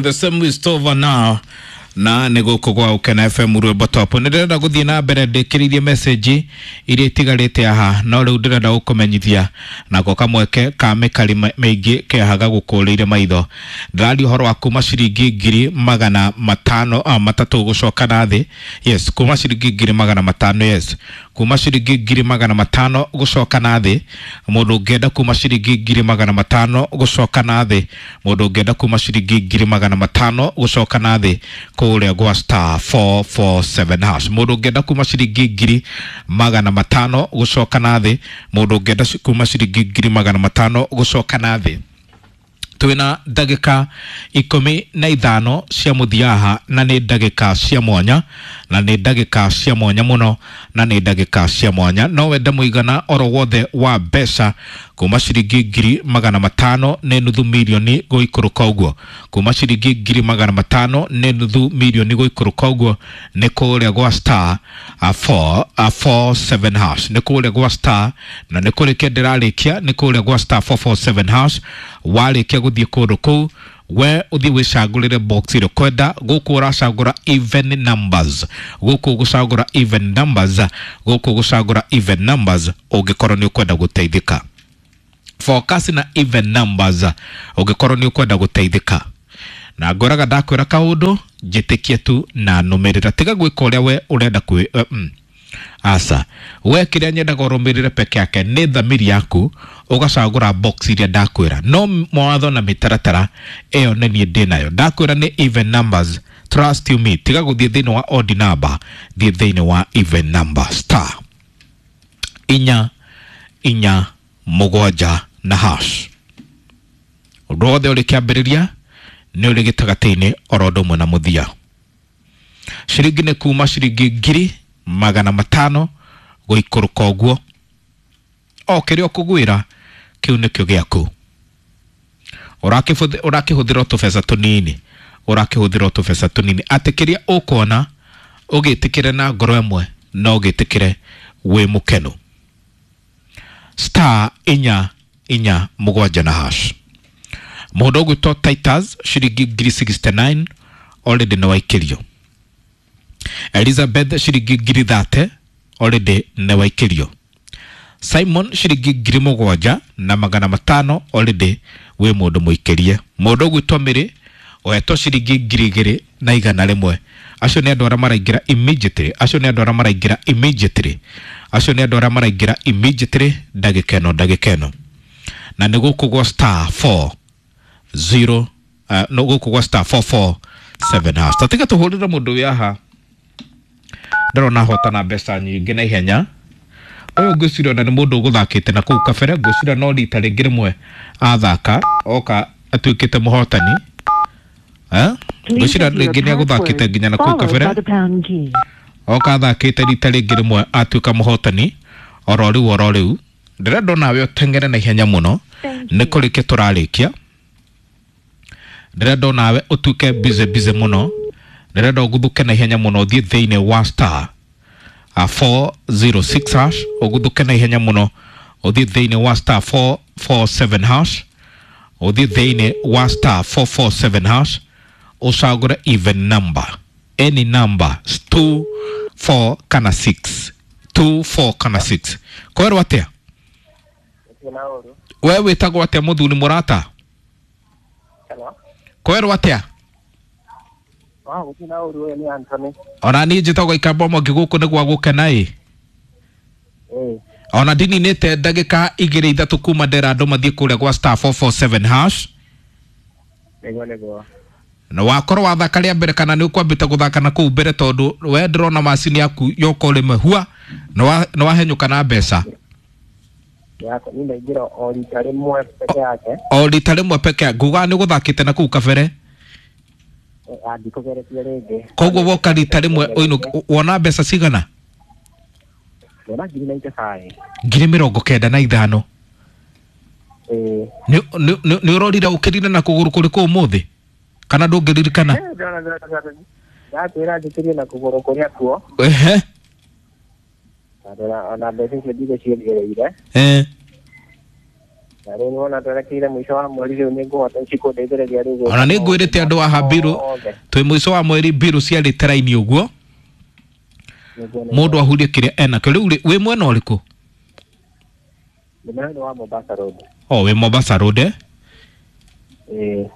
In the same way over now na nä gå kå gwa Ukena FM rwĩmbo top. Nä ndĩrenda gũthiĩ na mbere ndĩkĩrĩirie message iria itigarĩte haha, no rĩu ndĩrenda gũkũmenyithia nako kamweke ka mĩkari mĩingĩ kehaga gũkũrĩire maitho. Ndĩraria ũhoro wa kuma ciringi 500,000 matatũ gũcoka na thĩ. Yes, kuma ciringi 500,000. Yes, kuma ciringi 500,000 gũcoka na thĩ. Mũndũ ũngĩenda kuma ciringi 500,000 gũcoka na thĩ, mũndũ ũngĩenda kuma ciringi 500,000 gũcoka na thĩ kũrĩa gwa star 447 hash. Mũndũ ũngĩenda kuma ciringi 500,000 gũcoka na thĩ, mũndũ ũngĩenda kuma ciringi 500,000 gũcoka na thĩ. Twĩna ndagĩka 15 cia mũthia, na nĩ ndagĩka cia mwanya, na nĩ ndagĩka cia mwanya mũno, na nĩ ndagĩka cia mwanya. No wende mũigana oro wothe wa mbeca kuma ciringi 500,000 nĩ nuthu mirioni gũikũrũka ũguo, kuma ciringi 500,000 nĩ nuthu mirioni gũikũrũka ũguo, nĩ kũrĩa gwa star 447 hash. Nĩ kũrĩa gwa star, na nĩ kũrĩkia ndĩrarĩkia, nĩ kũrĩa gwa star 447 hash. Warĩkia gũthiĩ kũndũ kũu, we ũthiĩ wĩcagũrĩre box ĩrĩa ũkwenda. Gũkũ ũracagũra even numbers, gũkũ ũgũcagũra even numbers, gũkũ ũgũcagũra even numbers ũngĩkorwo nĩ ũkwenda gũteithĩka. Focus na even numbers ũngĩkorwo nĩ ũkwenda gũteithĩka. Na ngoraga ndakwĩra kaũndũ, njĩtĩkie tu na nũmĩrĩra, tiga gwĩka ũrĩa we ũrenda kwĩ aca. We kĩrĩa nyendaga ũrũmĩrĩre peke yake nĩ thamiri yaku, ũgacagũra box iria ndakwĩra. No mawatho na mĩtaratara ĩyo nĩ niĩ ndĩ nayo. Ndakwĩra nĩ even numbers, trust you me. Tiga gũthiĩ thĩinĩ wa odd number, thiĩ thĩinĩ wa even number. Star 447 na hash. Ũndũ wothe ũrĩ kĩambĩrĩria nĩ ũrĩ gĩtagatĩ-inĩ oro ũndũ ũmwe na mũthia. Ciringi nĩ kuma ciringi 500,000 gũikũrũka ũguo. O kĩrĩa ũkũgwĩra kĩu nĩkĩo gĩaku. Ũrakĩhũthĩra tũbeca tũnini, ũrakĩhũthĩra tũbeca tũnini, atĩ kĩrĩa ũkuona ũgĩtĩkĩre na ngoro ĩmwe na ũgĩtĩkĩre wĩ mũkenu. Star 447 na hash. Mũndũ ũgwĩtwo Titus ciringi 69,000 already nĩ waikĩrio. Elizabeth ciringi 30,000 already nĩ waikĩrio. Simon ciringi 7,500 already wĩ mũndũ mũikĩrie. Mũndũ ũgwĩtwo Mĩrĩ ũhetwo ciringi 2,100. Acio nĩ andũ arĩa maraingĩra immediately, acio nĩ andũ arĩa maraingĩra immediately, acio nĩ andũ arĩa maraingĩra immediately ndagĩka ĩno, ndagĩka ĩno. Na nĩ gũkũ gwa star 40 no gũkũ gwa star 447 hash. Tatiga tũhũrĩre mũndũ wĩ haha, ndĩrona hotana mbeca nyingĩ na ihenya. Ũyũ ngwĩciria ona nĩ mũndũ ũgũthakĩte na kũu kabere, ngwĩciria no rita rĩngĩ rĩmwe athaka oka atuĩkĩte mũhotani. Ngwĩciria rĩngĩ nĩ agũthakĩte nginya na kũu kabere, oka athakĩte rita rĩngĩ rĩmwe atuĩka mũhotani oro rĩu oro rĩu. Ndĩrenda onawe ũteng'ere na ihenya mũno, nĩ kũrĩkia tũrarĩkia. Ndĩrenda onawe ũtuĩke busy busy mũno, ndĩrenda ũguthũke na ihenya mũno, ũthiĩ thĩinĩ wa star 406 hash. Ũguthũke na ihenya mũno, ũthiĩ thĩinĩ wa star 447 hash, ũthiĩ thĩinĩ wa star 447 hash, ũcagũre even number, any number, 2 4 kana 6, 2 4 kana 6. Kwerwo atĩa? We wĩtagwo atĩa mũthuri mũrata? Kwerwo atĩa? Ona niĩ njĩtagwo Ikamba Mwangi, gũkũ nĩ gwa gũkena ĩ. Ona ndininĩte ndagĩka igĩrĩ ithatũ kuma ndera andũ mathiĩ kũrĩa gwa star 447 hash. Nĩguo, nĩguo. Na wakorwo wathaka rĩa mbere kana nĩ ũkwambĩte gũthaka na kũu mbere? Tondũ we ndĩrona macini yaku yoka ũrĩme hua nĩ wahenyũka na mbeca. Yako ni ndaingĩra o rita rĩmwe peke yake. O rita rĩmwe peke, nguga nĩ ũgũthakĩte na kũu kabere? Ndikũgeretie rĩngĩ. Koguo woka rita rĩmwe ũinũke wona mbeca cigana? Ndona 95,000. 95,000? Ĩĩ. Nĩ ũrorire ũkĩrire na kũgũrũ kũrĩkũ ũmũthĩ kana ndũngĩririkana? Ndakwĩra njĩkĩrie na kũgũrũ kũrĩa kuo. Ehe. Ona mbeca icio ndigũciongereire. Na rĩu nĩwona twerekeire mũico wa mweri rĩu nĩngũhota cikũndeithĩrĩria rĩu gwĩka Ona nĩ ngwĩrĩte andũ haha mbiru mothe. twĩ mũico wa mweri mbiru ciarĩte raini ũguo. Nĩguo, nĩguo. Mũndũ ahurie kĩrĩa enakĩo rĩu rĩ, wĩ mwena ũrĩkũ? Ndĩ mwena wa Mombasa Road. O wĩ Mombasa Road, eh? Ĩĩ.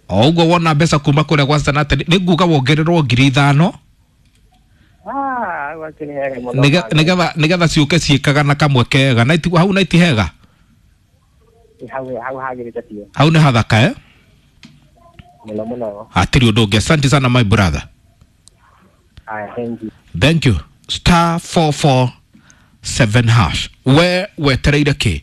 O ũguo wona mbeca kuma kũrĩa gwa Zanate nĩ nguga wongererwo 5,000. Ah, hau akĩrĩ hega mũno. Nĩgetha ciũke ciĩkaga na kamwe kega na hau na hega. Hau hagĩrĩte biũ. Hau nĩ hathaka, eh? Mũno mũno. Hatirĩ ũndũ ũngĩ, asante sana my brother. Aya, thank you. Thank you. Star 447 hash. We wetereire kĩ?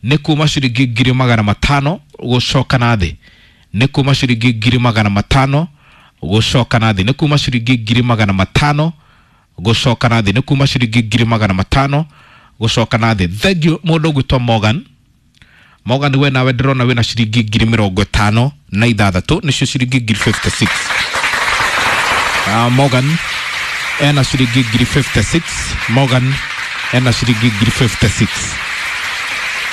Nĩ kuma ciringi 500,000 gũcoka na thĩ. Nĩ kuma ciringi 500,000 gũcoka na thĩ. Nĩ kuma ciringi 500,000 gũcoka na thĩ. Nĩ kuma ciringi 500,000 gũcoka na thĩ. Thank you mũndũ ũgwĩtwo Morgan. Morgan, we nawe ndĩrona wĩna ciringi 56,000, nĩcio ciringi 56,000. Morgan ena ciringi 56,000. Morgan ena ciringi 56,000.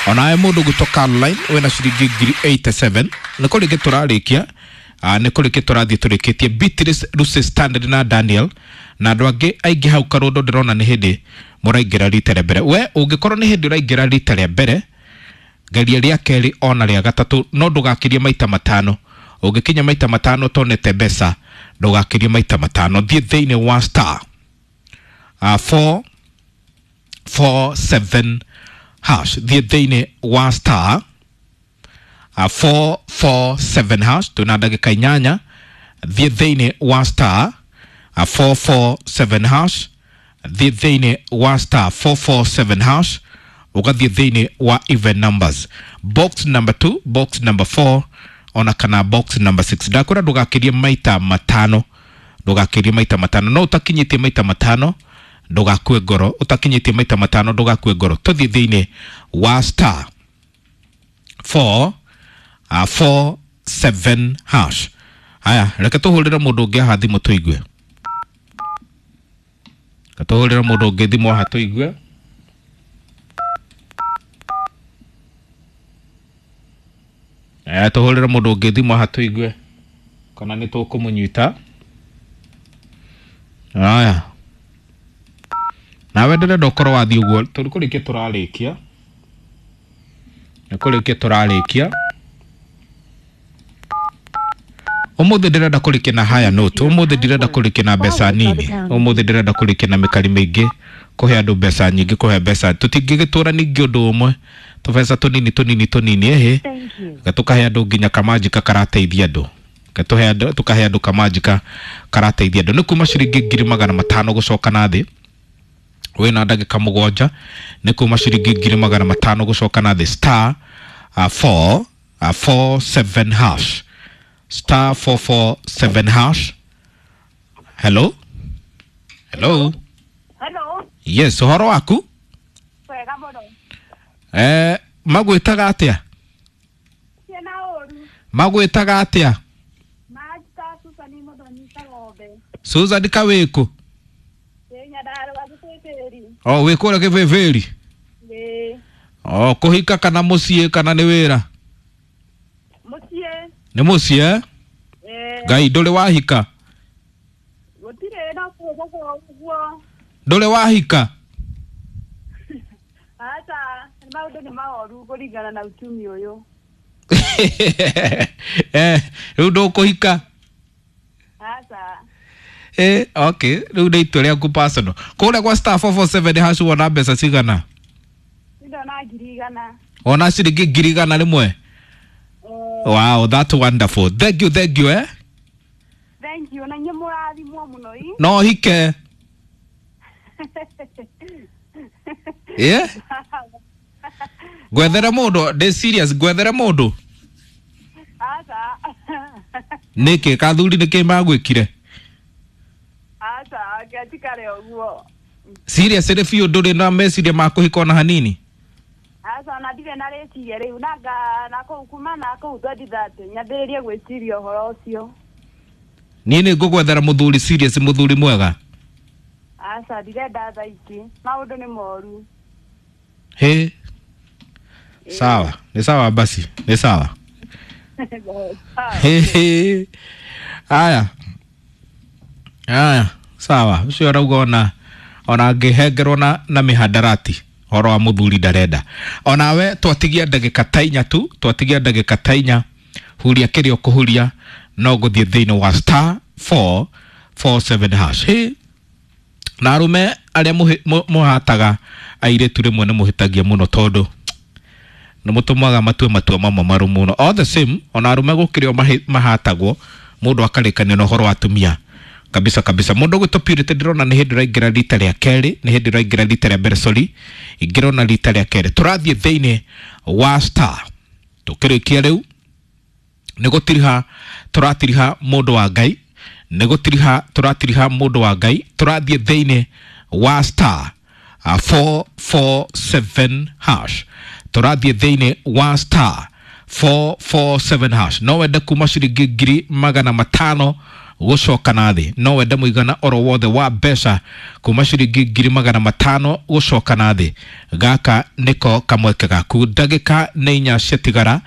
Onawe mũndũ gwĩtwo Caroline wĩna ciringi 87,000. Nĩ kũrĩkia tũrarĩkia, nĩ kũrĩkia tũrathiĩ tũrĩkĩtie. Beatrice, Lucy, Standard na Daniel na andũ angĩ aingĩ hau karũndũ, ndĩrona nĩ hĩndĩ mũraingĩra rita rĩa mbere. We ũngĩkorwo nĩ hĩndĩ ũraingĩra rita rĩa mbere, geria rĩa kerĩ ona rĩa gatatũ, no ndũgakĩrie maita matano. Ũngĩkinya maita matano ũtonete mbeca, ndũgakĩrie maita matano. Thiĩ thĩinĩ wa star 4 4 7 hash. Thiĩ thĩinĩ wa star 4 4 7 hash. Twĩna ndagĩka 8. Thiĩ thĩinĩ wa star 4 4 7 hash. Thiĩ thĩinĩ wa star 4 4 7 hash, ũgathiĩ thĩinĩ wa even numbers, box number 2, box number 4 ona kana box number 6. Ndakwĩra ndũgakĩrie maita matano, ndũgakĩrie maita matano. No ũtakinyĩtie maita matano, ndũgakue ngoro. Ũtakinyĩtie maita matano, ndũgakue ngoro. Tũthiĩ thĩinĩ wa star 4 4 7 hash. Haya, reke tũhũrĩre mũndũ ũngĩ haha thimũ tũigue. Reke tũhũrĩre mũndũ ũngĩ thimũ haha tũigue. Tũhũrĩre mũndũ ũngĩ thimũ haha tũigue kana nĩ tũkũmũnyita. Haya, nawe ndĩrenda ũkorwo wathiĩ ũguo, tũrĩ kũrĩkia tũrarĩkia, nĩ kũrĩkia tũrarĩkia. Ũmũthĩ ndĩrenda kũrĩkia na haya note. Ũmũthĩ ndirenda kũrĩkia na mbeca nini. Ũmũthĩ ndĩrenda kũrĩkia na mĩkari mĩingĩ, kũhe andũ mbeca nyingĩ, kũhe mbeca. Tũtingĩgĩtũra ningĩ ũndũ ũmwe, tũbeca tũnini tũnini tũnini, ĩhĩ. Thank you. Reke tũkahe andũ nginya kamanjika karateithia andũ. Reke tũkahe andũ kamanjika karateithia andũ. Nĩ kuma ciringi 500,000 gũcoka na thĩ. Wĩna ndagĩka 7. Nĩ kuma ciringi 500,000 gũcoka na thĩ. Star 4 4 7 hash. Star 4 4 7 hash. Hello, hello. Hello. Yes, ũhoro waku? Wega mũno. Magwĩtaga atĩa? Ciana ũru. Magwĩtaga atĩa? Manjita Susan Mũthoni Kagombe. Susan kawĩkũ? Ndĩ Nyandarũa Gĩbĩbĩri. O wĩ kũrĩa Gĩbĩbĩri? Ĩĩ. O kũhika kana mũciĩ kana nĩ wĩra? Mũciĩ. Nĩ mũciĩ, eh? Ĩĩ. Ngai, ndũrĩ wahika? Gũtirĩ no kũhũthwo ũguo. Ndũrĩ wahika? Aca, maũndũ nĩ maoru kũringana na uchumi ũyũ. Rĩu ndũkũhika? Aca. Okay, rĩu nĩ itua rĩaku personal. Kũrĩa gwa star 447 hash wona mbeca cigana? Ndona 100,000. Wona ciringi 101,000? Wow, that's wonderful. Thank you, thank you, eh? Thank you, na inyuĩ mũrathimwo mũno ĩ. No hike. Yeah? Ngwethere mũndũ, ndĩ serious, ngwethere mũndũ. Aca. Nĩkĩ kathuri nĩkĩ magwĩkire? Aca, ngetikare ũguo. Serious rĩ biũ, ndũrĩ na meciria ma kũhika ona hanini? Aca, ona ndirĩ na rĩciria rĩu nanga na kũu kuma na kũu 2030 nyambĩrĩrie gwĩciria ũhoro ũcio. Niĩ nĩ ngũgwethera mũthuri serious, mũthuri mwega. Aca, ndirenda thaa ici, maũndũ nĩ moru. Hĩ. Sawa, nĩ sawa basi, nĩ sawa. Aya, aya, sawa. Ũcio arauga ona angĩhengerwo na mĩhandarati horo wa mũthuri ndarenda. Onawe twatigia ndagĩka ta inya tu, twatigia ndagĩka ta inya, huria kĩrĩa ũkũhuria no gũthiĩ thĩinĩ wa star 447 hash. Hĩ, na arũme arĩa mũhataga airĩtu rĩmwe nĩ mũhĩtagia mũno tondũ nĩ mũtũmaga matue matua mamwe marũ mũno. All the same, ona arũme gũkĩrĩ o mahatagwo mũndũ akarĩkania na ũhoro wa atumia kabisa kabisa. Mũndũ ũgwĩtwo Purity ndĩrona nĩ hĩndĩ ũraingĩra rita rĩa kerĩ, nĩ hĩndĩ ũraingĩra rita rĩa mbere, sorry, ingĩrona rita rĩa kerĩ. Tũrathiĩ thĩinĩ wa star tũkĩrĩkia rĩu nĩ gũtiriha tũratiriha mũndũ wa Ngai, nĩ gũtiriha tũratiriha mũndũ wa Ngai. Tũrathiĩ thĩinĩ wa star 447 hash, tũrathiĩ thĩinĩ wa star 447 hash. No wende kuma ciringi 500,000 gũcoka na thĩ, no wende mũigana oro wothe wa mbeca kuma ciringi 500,000 gũcoka na thĩ. Gaka nĩko kamweke gaku, ndagĩka nĩ inya ciatigara,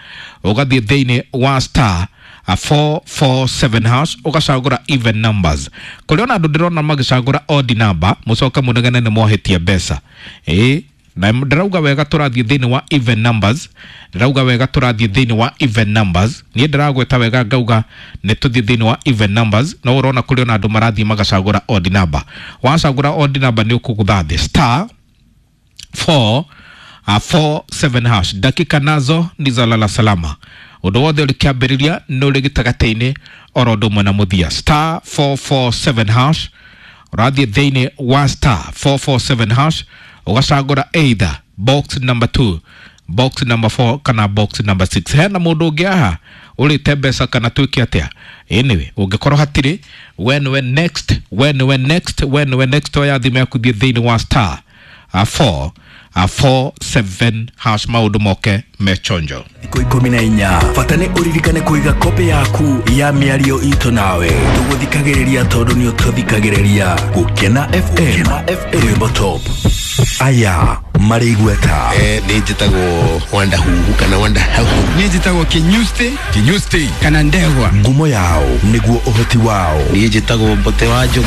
ũgathiĩ thĩinĩ wa star 447 hash ũgacagũra even numbers. Kũrĩ ona andũ ndĩrona magĩcagũra odd number, mũcoke mũnegene nĩ mwahĩtia mbeca. Ĩĩ, na ndĩrauga wega tũrathiĩ thĩinĩ wa even numbers, ndĩrauga wega tũrathiĩ thĩinĩ wa even numbers. Niĩ ndĩragweta wega ngauga nĩ tũthiĩ thĩinĩ wa even numbers, no ũrona kũrĩ ona andũ marathiĩ magacagũra odd number. Wacagũra odd number nĩ ũkũgũtha thĩ star 4 47 hash. Dakika nazo ni za lala salama. Ũndũ wothe ũrĩ kĩambĩrĩria nĩ ũrĩ gĩtagatĩ-inĩ oro ũndũ ũmwe na mũthia. Star 447 hash, ũrathiĩ thĩinĩ wa star 447 hash ũgacagũra either box number 2, box number 4 kana box number 6. Hena mũndũ ũngĩ haha ũrĩte mbeca kana twĩke atĩa? Anyway, ũngĩkorwo hatirĩ, we nĩwe next, we nĩwe next, we nĩwe next. Oya thimũ yaku thiĩ thĩinĩ wa star 4 47 hash, maũndũ moke mechonjo. Thikũ 14 bata nĩ ũririkane kũiga kopĩ yaku ya mĩario itũ nawe tũgũthikagĩrĩria tondũ nĩ ũtũthikagĩrĩria. Gũkena FM, rwĩmbo top aya marĩ igweta. Nĩ njĩtagwo Wanda Huhu kana Wanda Hauhu. Niĩ njĩtagwo Kinyusti. Kinyusti. Kana Ndegwa. Ngumo yao nĩguo ũhoti wao. Niĩ njĩtagwo Mbote wa Njogu.